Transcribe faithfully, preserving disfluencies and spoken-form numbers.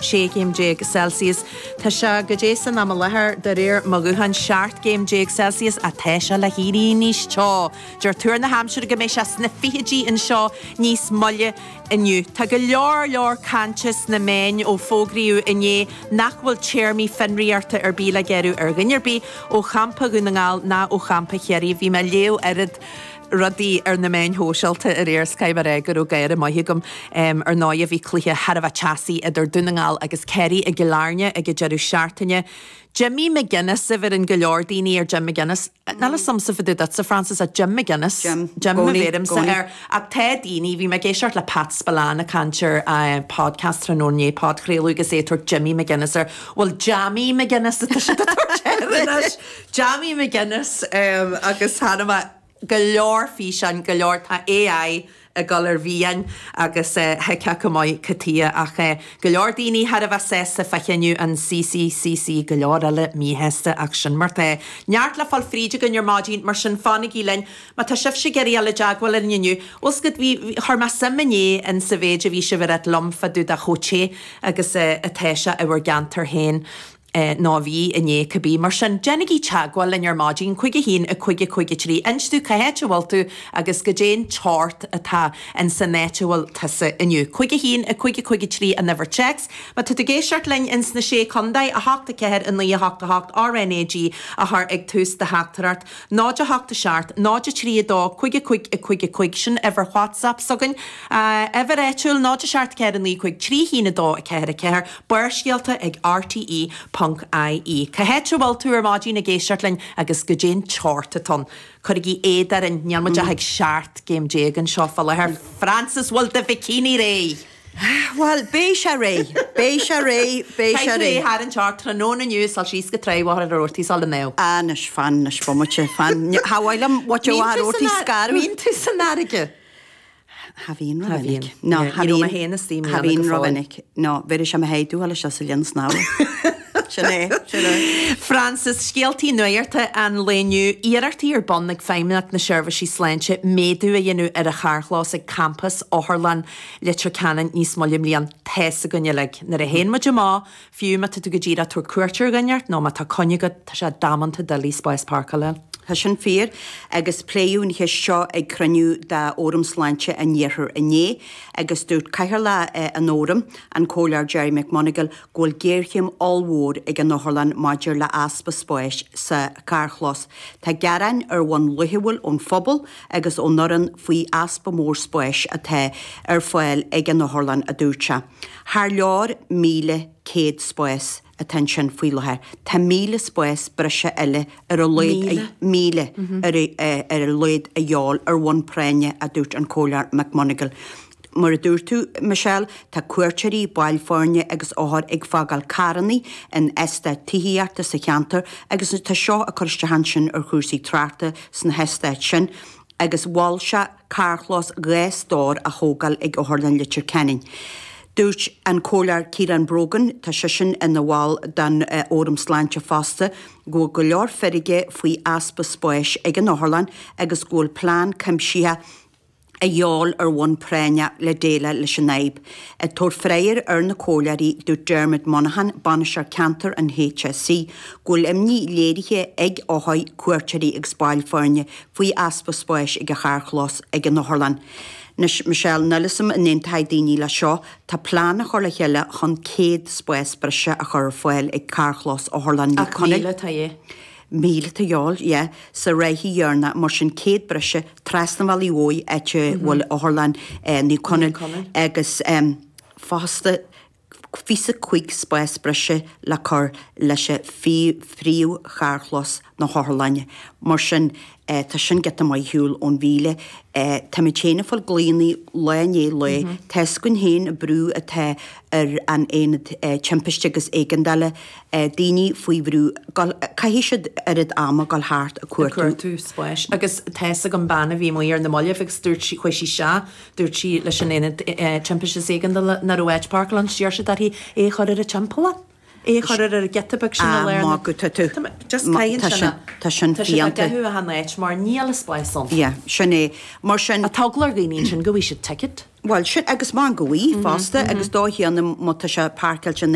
sé céim déag Celsius. Tá sé goidé san am i láthair de réir mo ghutháin seacht gcéim déag Celsius ach tá sé le héirí níos teo. Deir tuar na haimsire go mbeidh sé sna fichidí anseo níos moille inniu. Tá go leor leor cainte sna meáin ó fógraíodh inné nach bhfuil téarmaí fionraíochta ar bith le gearradh ar dhuine ar bith ó champa Dhún na nGall ná ó champa Chiarraí. Bhí mé ag léamh oiread rudaí ar na meáin shóisialta aréir is caithfidh mé a rá go raibh gáire maith agam ar ndóigh bhí cluiche thar a bheith teasaí idir Dún na nGall agus Kerry i gCill Airne ag an deireadh seachtaine. Jimmy McGuinness a bheireann go leor daoine ar Jim McGuinness. Níl 'fhios a'msa fá dtaobh duitse Francis ach Jim McGuinness. Jim. Jim a Gcónaí, bheirimse gcónaí. air. Ach tá daoine, bhí mé ag éisteacht le Pat Spillane ag caint ar uh, podcast tráthnóna inné podchraoladh agus é ag tabhairt Jimmy McGuinness air. Bhuel Jammy McGuinness atá siad ag tabhairt air anois. Jammy McGuinness um, agus tháinig mé go leor físeán go leor tá AI ag dul ar mhian agus uh, thuigfeá go maith cad chuige ach uh, go leor daoine thar a bheith sásta fá chinneadh an CCCC go leor eile míshásta ach sin mar tá. Neart le fáil fríd againn ar maidin mar sin fanaigí linn, má tá sibhse ag iarraidh dul i dteagmháil linn inniu. Bhfuil go bhí chuir mé suim inné in sa mhéid a bhí sibh ag rá liom fá dtaobh de chomh te agus uh, atá sé i bhur gceantar féin. Eh, ná bhí inné cibé mar sin déanaigí teagmháil linn ar maidin cúig a haon a cúig a cúig a trí inis dúinn cá háit a bhfuil tú agus goidé an teocht atá in san áit a bhfuil tusa inniu. Cúig a haon a cúig a cúig a trí an uimhir téacs, Má tá tú ag éisteacht linn in sna sé chontae a hocht a ceathair a naoi a hocht a hocht RNAG a chur ag tús do theachtaireacht, náid a hocht a seacht, náid a trí a dó, cúig a cúig a cúig a cúig sin uimhir WhatsApp s'againn, uh, uimhir áitiúil náid a seacht ceathair a naoi cúig trí haon a dó a ceathair a ceathair, Barrscéalta ag RTE ponc IE. Cá háit a bhfuil tú ar maidin ag éisteacht linn agus goidé an teocht atá ann. Cuirigí éad orainn níl muid ach ag seacht gcéim déag anseo fá láthair. Francis bhfuil do bhikini réidh. Well, beidh sé réidh, Beidh sé réidh, beidh sé Caithfidh réidh. thar an teocht tráthnóna inniu sal síos go Traí Mhachaire Rabhartaigh sal an naoú. Anois fan anois bomaite fan. Hailm what you scar. Bíonn tú san fharraige. Ha bhíonn Ha bhíonn. ro No Yeah, ní raibh mé féin istigh i Ha mbliana bhíonn go fóill. ro-mhinic. No, bhí sé haidú le se sa linn snámha. Sin é, sin é. Francis scéaltaí nuachta an lae inniu iarrachtaí ar bun ag Feidhmeannacht na Seirbhísí Sláinte méadú a dhéanamh ar a charrchlós ag campas Otharlann Leitir Ceanainn níos moille i mbliana tá a fhios againn uilig. Nuair a théann muid amach fiú má tá tú go díreach tabhairt cuairt ar dhuine nó má tá coinne agat tá sé damanta doiligh spás páirceála. Tá sin fíor agus pléadh an cheist seo ag cruinniú de Fhóram Sláinte an Iarthair inné agus dúirt cathaoirleach an fhóraim an Comhairleoir Gerry McMonagall go bhfuil géarchéim ollmhór ag an Otharlann maidir le easpa spáis sa charrchlós. Tá gearáin ar bhonn laethúil ón phobal agus ón fhoireann faoi easpa mór spáis atá ar fáil ag an Otharlann a dúirt sé. Thar leor míle céad spás atá ansin faoi láthair. Tá míle spás breise eile ar a laghad míle ar ar a laghad a dhíobháil ar bhonn práinne a dúirt an Comhairleoir McMonagall. Mar a dúirt tú Michelle, tá cuairteoirí baill foirne agus othair ag fágáil carranna in eastáit tithíochta sa cheantar agus tá seo ag cur isteach ansin ar chúrsaí tráchta sna heastáit sin agus mhol sé carrchlós dhá stór a thógáil ag Otharlann Leitir Ceanainn. Dúirt an Comhairleoir Ciarán Brogan tá seisean ina bhall den Fhóram Sláinte fosta go bhfuil go leor feirge faoi easpa spáis ag an Otharlann agus go bhfuil plean cuimsitheach a dhíobháil ar bhonn práinne le déileáil leis an fhadhb. Ag tabhairt freagra ar na comhairleoirí dúirt Dermot Monaghan bainisteoir ceantar an HSE, go bhfuil imní léirithe ag othair cuairteoirí agus baill foirne faoi easpa spáis ag a charrchlós ag an Otharlann. Anois Michelle níl a fhios agam an aontóidh daoine le seo, tá plean a chur le chéile chun céad spás breise a chur ar fáil ag carrchlós Otharlann Ach míle tá é. Míle tá dheáil, yeah, sa ráithí dhearna mar sin céad breise trasna Bhaile Mhói áit a bhfuil Otharlann Naomh Conaill agus um, fosta fiche cúig spás breise le cur leis an phríomh-charrchlós na hOtharlainne. Mar sin eh, tá sin giota maith ar shiúl ón mhíle. Eh, Tá mé féin ag fáil glaonna lá i ndiaidh lae, Tá scun héin brú atá ar an aonad eh, timpiste agus éigeandála eh, daoine faoi bhrú caithfidh siad oiread ama dul thart ag cuartú. cuartú spáis. Agus tá an bhean a bhí amuigh ar na mallaibh agus dúirt sí chuaigh sí se, dúirt sí leis an aonad timpiste is éigeandála nach raibh áit páirceála ann d'iarr siad uirthi é a chur ar a timpeallán. É a chur ar an giota beag sin Ah, a léir. má go tá tú. Just Ma- caitheann tá sin sin- tá sin Tá sin fiánta. gethú a han áit mar níl a spás ann. Yeah, sin é. Mar sin A táglar dhaoine sin go bhfuil siad ticket. Well sin agus má go bhí fosta agus dó chéanna má tá sé páirceáilte